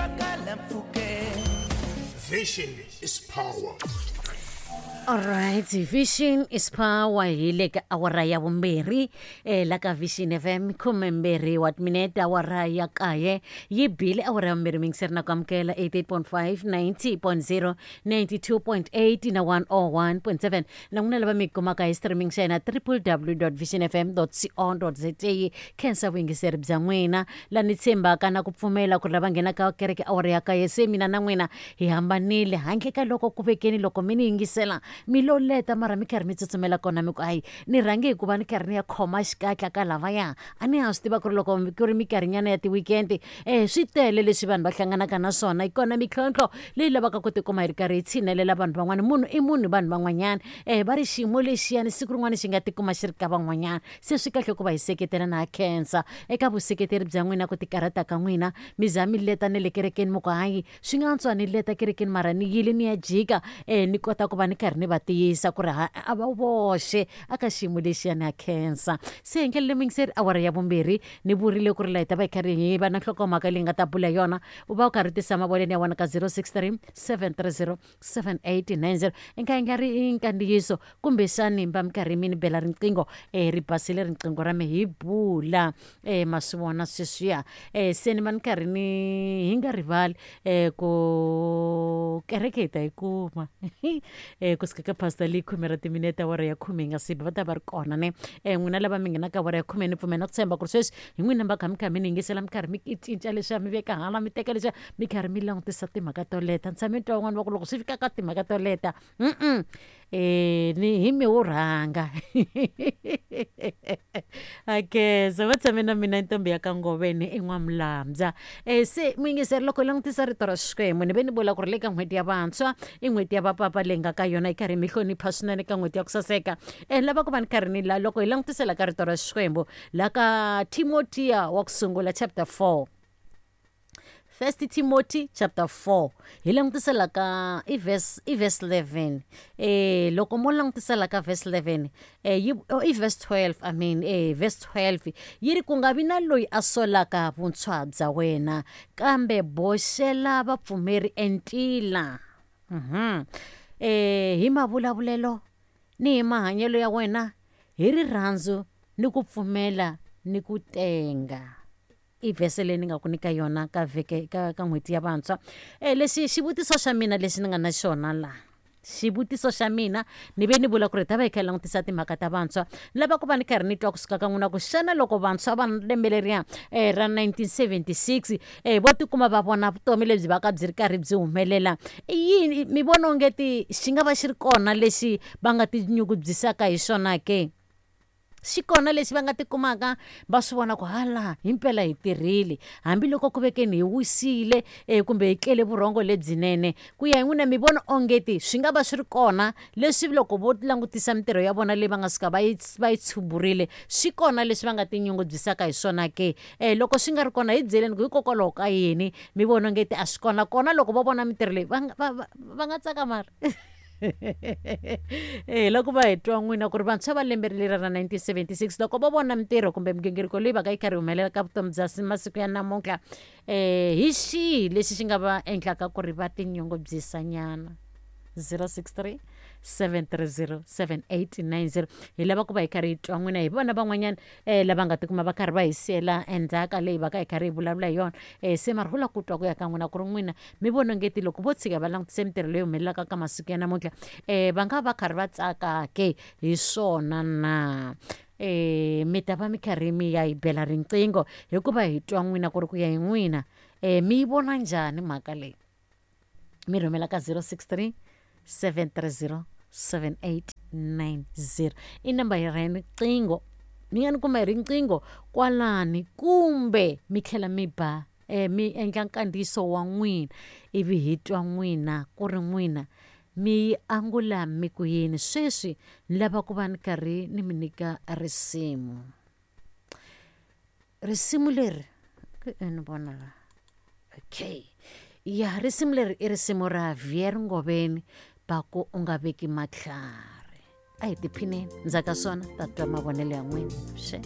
twakala mpfhukeni. Vision is power. Alright, Vision is power hi le ka awara ya vumbirhi la ka Vision FM 12 wa timinete awara ya kaye yi bile awara ya vumbirhi mingiseri na ku amukela 88.5 90.0 92.8 na 101.7 na n'wina lava mi kumaka hi streaming xa hina www.visionfm.co.za. Khensa vuyingiseri bya n'wina la ni tshembaka na ku pfumela ku ri lava nghenaka kereke awara ya kaye se mina na n'wina hi hambanile handle ka loko ku vekeni loko mi ni yingisela mi lo leta mara mi karhi mi tsutsumela kona mi ku hayi ni rhange hikuva ni karhi ni ya khoma xikatla ka lavaya a ni ha swi tiva ku ri loko ku ri minkarhinyana ya ti-weekend swi tele leswi vanhu va hlanganaka na swona yi kona mintlhontlho leyi lavaka ku tikuma hi ri karhi hi tshinelela vanhu van'wana munhu i munhu vanhu van'wanyana va ri xiyimo lexiyani siku rin'wana xi nga tikuma xi ri ka van'wanyana se swi kahle ku va hi seketela na ha khensa eka vuseketeri bya n'wina ku tikarhata ka n'wina mi za mi leta ne le kerekeni mi ku hayi swi nga antswa ni leta kerekeni mara ni yile ni ya jika ni kota ku va ni karhi ni va tiyisa ku ri ha a va voxe a ka xiyimo lexiyani ha khensa. Se hi ndlela leyi muyingiseri awara ya vumbirhi ni vurile ku ri la hi ta va hi karhi hi va na nhlokomhaka leyi nga ta bula hi yona u va u karhi u tisa mavonelo ya wena ka 063 730 7890 i nga endla ri nkandziyiso kumbexani va mi karhi mi ni bela riqingho ri basile riqingho ra mi hi bula ma swi vona sweswiya se ni va ni karhi ni hi nga rivali ku kereke hi ta yi kuma kusuka ka pastor leyi khume ra timinete awara ya khume yi nga si ba va ta va ri kona ne n'wina lava mi nghenaka awara ya khume ni pfumela na ku tshemba ku ri sweswi hi n'wina va kha mi kha mi ni yingisela mi karhi mi cinca leswiya mi veka hala mi teka leswiya mi karhi mi langutisa timhaka to leta ni tshame ni twa van'wani va ku loko swi fika ka timhaka to leta ni hi mi wo rhanga akeza va tshame na mina ntombi ya ka ngoveni i n'wamulambya se muyingiseri loko hi langutisa rito ra Xikwembu ni ve ni vula ku ri le ka n'hweti ya vantshwa i n'hweti ya vapapa leyi nga ka yona yi karhi mi hlonipha swinene ka n'hweti ya ku saseka lava ku va ni karhi ni la loko hi langutisela ka rito ra Xikwembu la ka Timotiya wa ku sungula chapter 4 First Timothy chapter 4 hi langutisela ka i verse i verse 11 loko mo langutisela ka verse 11 yi oh, i verse 12 I mean verse 12 yi ri ku nga vi na loyi a solaka vuntshwa bya wena kambe boxela vapfumeri entila hi mavulavulelo ni hi mahanyelo ya wena hi rirhandzu ni ku pfumela ni ku tenga. I vhese leyi ni nga ku nyika yona ka vheke ka ka n'hweti ya vantshwa. Lexi xivutiso xa mina lexi ni nga na xona la xivutiso xa mina ni ve ni vula ku ri hi ta va hi kha hi langutisa timhaka ta vantshwa ni lava ku va ni karhi ni twa kusuka ka n'wina ku xana loko vantshwa va lembe leriya ra 1976 vo tikuma va vona vutomi lebyi va ka byi ri karhi byi humelela i yini mi vona ongeti xi nga va xi ri kona lexi va nga tinyungubyisaka hi xona ke? Xi kona lexi va nga tikumaka va swi vona ku hala himpela hi tirhile hambiloko ku vekeni hi wisile kumbe hi tlele vurhongo lebyinene. Ku ya hi n'wina mi vona ongeti swi nga va swi ri kona leswi loko vo langutisa mintirho ya vona leyi va nga suka va yi va yi tshuburile swi kona leswi va nga tinyungubyisaka hi swona ke? Loko swi nga ri kona hi byeleni ku hikokwalaho ka yini mi vona ongeti a swi kona kona loko vo vona mintirho leyi va nga va va va nga tsaka mara? Hi loko va hi twa n'wina ku ri vantshwa va lembe leri ra 1976 loko vo vona mintirho kumbe migingiriko leyi va ka yi karhi yi humelela ka vutomi bya masiku ya namuntlha hi xihi lexi xi nga va endlaka ku ri va tinyungubyisa nyana 063 730 7890 hi lava ku va hi karhi hi twa n'wina hi vona van'wanyana lava nga tikuma va karhi va hi siyela endzhaka leyi va ka hi karhi hi vulavula hi yona se mara hula ku twa ku ya ka n'wina ku ri n'wina mi vona ongeti loko vo tshika va langutise mintirho leyi humelelaka ka masiku ya namuntlha va nga va karhi va tsaka ke hi swona na mi ta va mi karhi mi ya hi bela riqingho hikuva hi twa n'wina ku ri ku ya hi n'wina mi yi vona njhani mhaka leyi mi rhumela ka 063 730 7890 i namba ya riqingho mi nga ni kuma hi riqingho kwalani kumbe mi tlhela mi ba mi endla nkandziyiso wa n'wina ivi hi twa n'wina ku ri n'wina mi yi angula mi ku yini sweswi ni lava ku va ni karhi ni mi nyika risimu risimu leri ni vona la okay ya risimu leri i risimu ra Vier Ngoveni va ku u nga veki matlhari a hi tiphineni ndzhaku ka swona ta twa mavonelo ya n'wina xe.